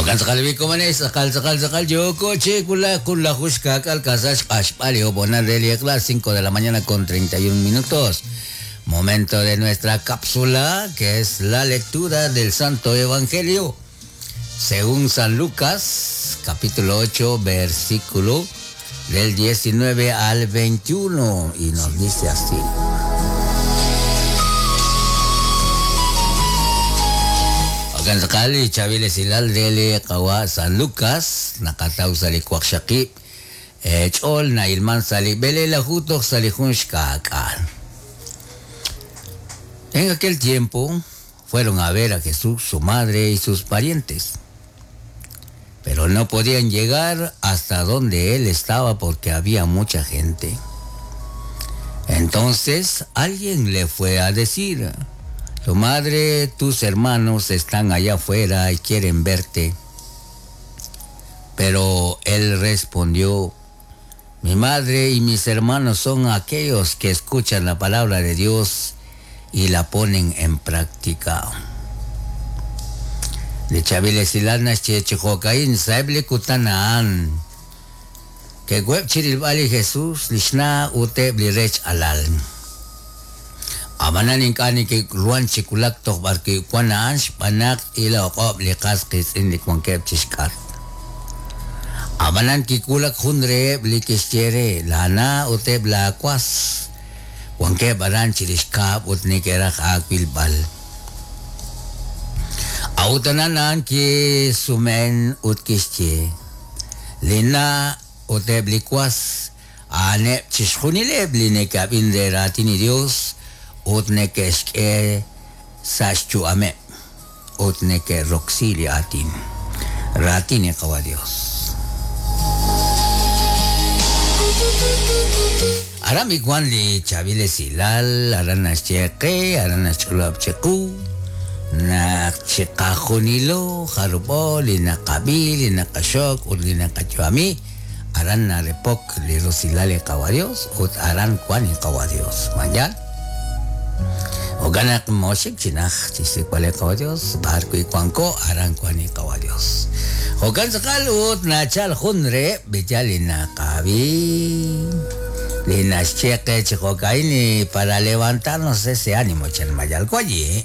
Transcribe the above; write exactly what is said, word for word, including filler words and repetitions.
Okan sakal bi komanes sakal sakal sakal yoko che kula kula hushka kal kasash ashpali obonal de las cinco de la mañana con treinta y un minutos. Momento de nuestra cápsula, que es la lectura del Santo Evangelio según San Lucas, capítulo ocho, versículo del diecinueve al veintiuno, y nos dice así. Sakali chavile silal dele kawa San Lucas nakataw sali kwakshaki chol na ilman sali bele la jutok sali junshkakan. En aquel tiempo fueron a ver a Jesús, su madre y sus parientes, pero no podían llegar hasta donde él estaba porque había mucha gente. Entonces alguien le fue a decir: tu madre, tus hermanos están allá afuera y quieren verte. Pero él respondió: mi madre y mis hermanos son aquellos que escuchan la palabra de Dios y la ponen en práctica. De Chavilesilana Chechocaín, Saeble Kutanaan, que web Chirilbali Jesús, Lishna Ute Blirech Alal. Amanan inkani ki ruan chikulak tok barki kuanaan xpanak ila oqob liqas qitz'in likwankeb chixk'at. Amanan kikulak jun reheb likixyere lana uteb lakuas wankeb aran chirixkab ut nikeraj aawilb'al. Awtananan ki sumen ut kixye lina uteb likuas aneb chixjunileb linekab'in re raatin Dios ut nekexk'e sa' xyu'ameb ut neke'roksi li aatin raatin qawa Dios. Aran bikuan li chavile silal aran naxyeqe aran naxch'olob chiqu naq chiqajunilo jarub'o li naqab'i li naqaxok ut li naqayu'ami aran narepok li rosilal li qawa Dios ut aran kuan li qawa Dios mañal. Oganak moshik chinaj chisikwale kawa Dios barku ikuanko aran kuani kawa Dios. Ogan sakal ut nachal junre bejali nakabi linascheque chijokaini para levantarnos ese ánimo chelmayalcoyi.